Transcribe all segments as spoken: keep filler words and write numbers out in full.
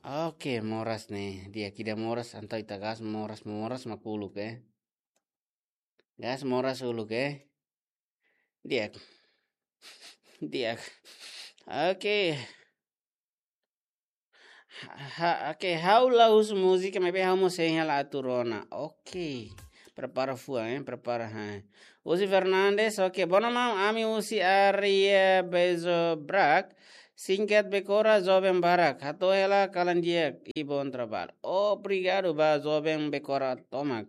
Oke, moras ne'e. Di'ak, ida moras, entaun ita gas moras, moras mak uluk, eh. Gas moras uluk, eh. Di'ak. Di'ak. Oke. Ha, ha, oke, ha'u la husu múzika, maibé ha'u mós hein hela atu rona. Oke. Prepara fuan, eh, prepara, ha. Husi Fernandes, oke. Bono maun, ami husi área Bezo Brak. Singkat Bekora joven barak. Hato'o hela kalan di'ak i bom trabalho. Obrigadu ba joven Bekora tomak.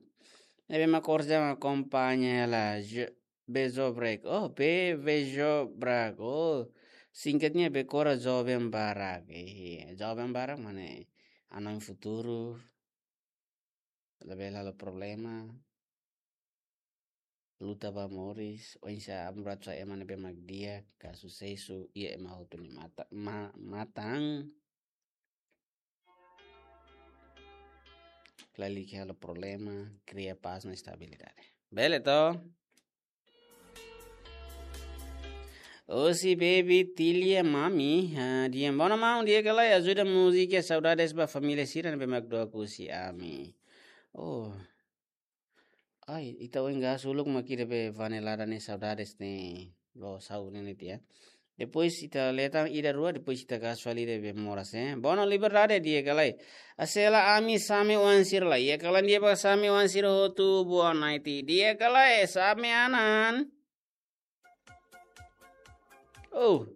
Ne'ebé mak orsida akompaña hela. Je-, Bezo Brak. Oh, Be-, Bezo Brak. Oh, singkatnya Bekora joven barak. Eh, joven barak mak ne'e hanoin futuru. Labele halo problema. Luta ba moris, oinsá amu ratu sa ema ne'ebé mak di'ak, ka susesu, iha ema hotu nia mata, ma-, matan. Lalika halo problema, kria pás no estabilidade. Bele to? Husi baby Tilia mami, ah, di'ak, bono maun, di'ak ka lae, ajuda múzika Saudades ba família sira ne'ebé mak doa husi ami. Oh. Ai, ita oin gas uluk mak ida be Vanelada ne'e Saudades ne'e. Lo sau ne'e ne'e tiha. Depois ita leta ida rua, depois ita gas fali ida be moras, eh. Bono Liberdade, di'ak ka lae. Hase'ela ami same oan sira lai. Iha kalan di'ak ba same oan sira hotu, boa noite. Di'ak ka lae, same anan. Oh.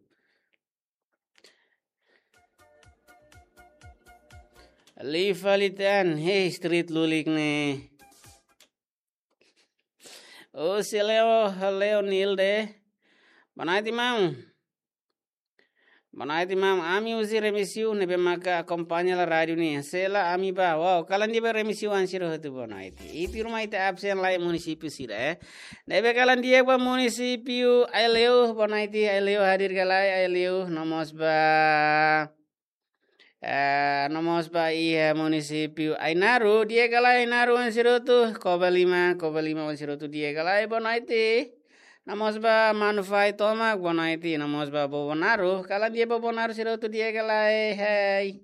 Liu fali tan, hei, street lulik ne'e. Oh, husi Leo, Leo Nilde. Boa noite, maun. Boa noite, maun. Ami husi Remexio, ne'ebé maka akompaña hela rádiu ne'e. Hase'ela ami ba. Wow, kalan di'ak ba Remexio oan sira hotu, boa noite. Ita ruma ita absen lai munisípiu sira, eh. Ne'ebé kalan di'ak ba munisípiu Aileu, boa noite, Aileu hadir ka lae, Aileu, no mós ba. Eh, no mós ba iha munisípiu Ainaro, di'ak ka lae Ainaro oan sira hotu, Covalima, Covalima oan sira hotu, di'ak ka lae, boa noite. No mós ba Manufai tomak, boa noite. No mós ba Bobonaro, kalan di'ak ba Bobonaro sira hotu, di'ak ka lae, hei.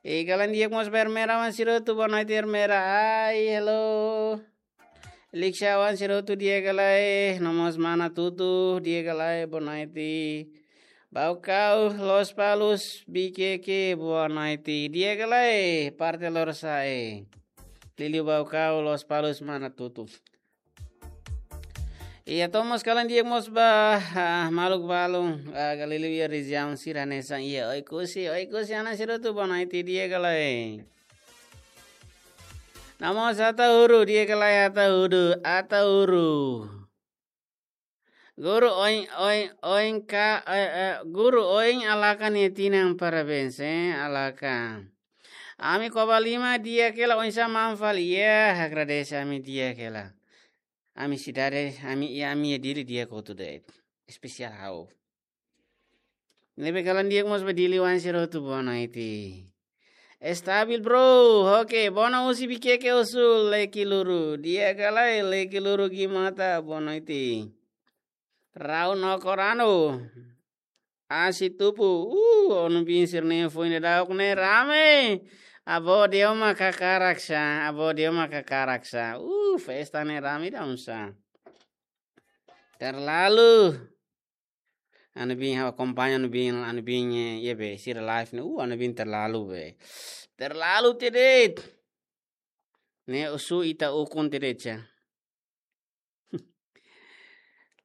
I kalan di'ak mós ba Ermera oan sira hotu, boa noite Ermera, ai, hello. Liksha oan sira hotu, di'ak ka lae, no mós mana Tutu, di'ak ka lae, boa noite. Baucau, Lospalos, Viqueque, boa noite. Di'ak ka lae, parte Lorosa'e. Liuliu Baucau, Lospalos, mana Tutu. Iha, no mós kalan di'ak mós ba, ah, maluk balun, ah, liuliu iha rejiaun sira hanesan iha Oekusi, Oekusi anan sira hotu, boa noite, di'ak ka lae. No mós Ataúru, di'ak ka lae Ataúru, Ataúru. Guru oin, oin, oin ka, eh, eh, guru oin Alaka nia tinan, parabéns, eh, Alaka. Ami Covalima di'ak hela, oinsá maun fali, ya, agradese ami di'ak hela. Ami sidade, ami, ya, ami iha Dili di'ak hotu de'it. Espesiál ha'u. Ne'ebé kalan di'ak mós ba Dili oan sira hotu, boa noite. Estabil, bro. Oke, bono husi Viqueque Osul, Lekiluru. Di'ak ka lae, Lekiluru Gimata, boa noite. Rau no Korano. Asi Tupu. Uh, Onubin sira-nia foin daudauk ne'e rame. Avó Delma kakarak sa, avó Delma kakarak sa. Uh, festa ne'e rame daudaun sa. Terlalu. Onubin, ha'u akompaña Onubin, Onubin, eh, iha be, sira live ne'e, uh, Onubin terlalu be. Terlalu tebes. Ne'e husu ita ukun tebes ya.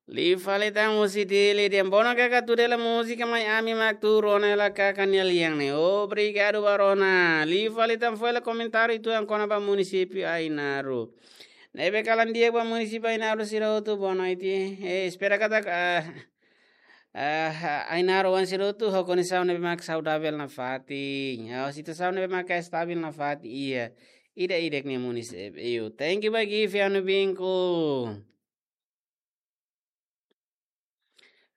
Liu fali tan husi Dili, dehan bono kaka tuda hela múzika mai ami mak atu rona hela kaka nia lian ne'e. Obrigadu ba rona. Liu fali tan fó hela komentáriu uitoan kona-ba munisípiu Ainaro. Ne'ebé kalan di'ak ba munisípiu Ainaro sira hotu, boa noite. Eh, espera katak, ah, ah, Ainaro oan sira hotu ho kondisaun ne'ebé mak saudavel nafatin. Ya, situasaun ne'ebé mak estabil nafatin. Iha, ida-idak nia munisípiu. Thank you ba gift ya, Onubinku.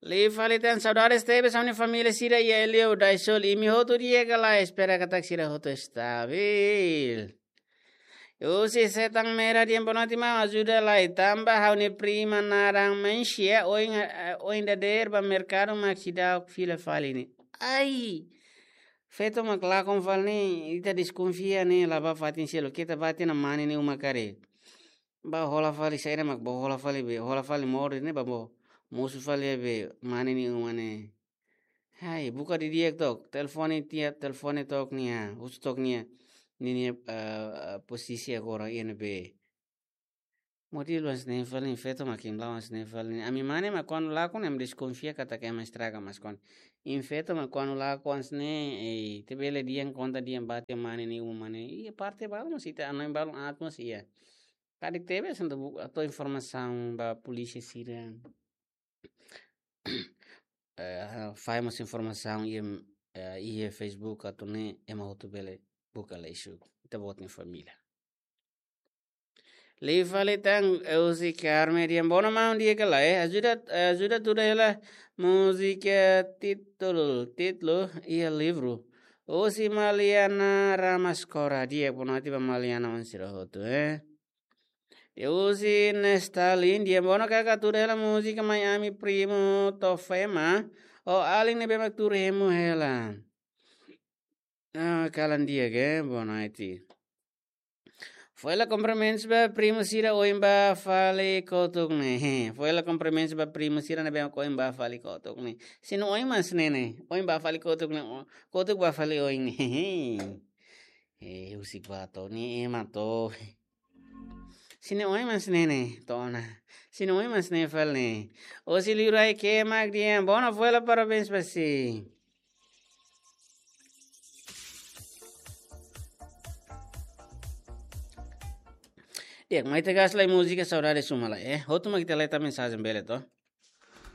Liu fali tan, saudades tebes ami-nia família sira iha Aileu, Daisol, imi hotu di'ak ka lae, espera katak sira hotu estabil. Husi Setan Merah dehan boa noite maun, ajuda lai, tanba ha'u-nia prima naran Mencia, oin, eh, oin dadeer ba merkadu mak seidauk fila fali ne'e. Ai! Feto mak lakon fali ne'e, ita deskonfia ne'e, la bá fatin seluk, keta bá tiha ona mane ne'e uma karik. Bá hola fali saida mak bá hola fali be, hola fali moris ne'e bá bá mosu fali be mane ne'e uma ne'e. Hai, buka didi'ak took, telefone tiha, telefone took nia, husu took nia, ninia, eh, eh, posisi agora iha ne'ebé. Motivu hanesan ne'e fali, feto mak imi la'o hanesan ne'e fali. Ami mane mak kuandu lakon ne'e ami deskonfia katak ema estraga, mas kuandu imi feto mak kuandu lakon hanesan ne'e, eh, ita bele dehan konta dehan bá tiha mane ne'e uma ne'e. Iha parte balu mós ita, hanoin balu aat mós iha. Karik tebes entaun bu-, atu informasaun ba polísia sira. Eh, fahe mós informasaun iha, eh, iha Facebook atu nune'e ema hotu bele buka lixu. Ita-boot nia família. Liu fali tan, eh, husi Carmen dehan: "Boa noite, maun, di'ak ka lae? Ajuda, eh, ajuda tuda hela múzika títulu, títulu iha livru." Husi Maliana Ramascora, di'ak, boa noite ba Maliana, oan sira hotu, eh. Husi Nestalin dehan: "Boa noite, kaka, tuda hela múzika Mai Ami Primu Tofema, ou alin ne'ebé mak tuur hemu hela." Ah, kalan di'ak, eh, boa noite. Fó hela kumprimentus ba primu sira oin bá fali kotuk ne'e. Fó hela kumprimentus ba primu sira ne'ebé oin bá fali kotuk ne'e. Se nia oin mak hanesan ne'e, oin bá fali kotuk ne'e, o-, kotuk bá fali oin ne'e. Eh, husik bá to'o, ne'e ema to'o. Se nia oin mak hanesan ne'e, to'o ona. Se nia oin mak hanesan ne'e fali ne'e. Husi Liurai Kemak dehan: "Boa noite, fó hela parabéns ba si." Di'ak, mai ita gas lai múzika Saudade Suma lai, eh. Hotu mak ita leta mensajen bele to'o.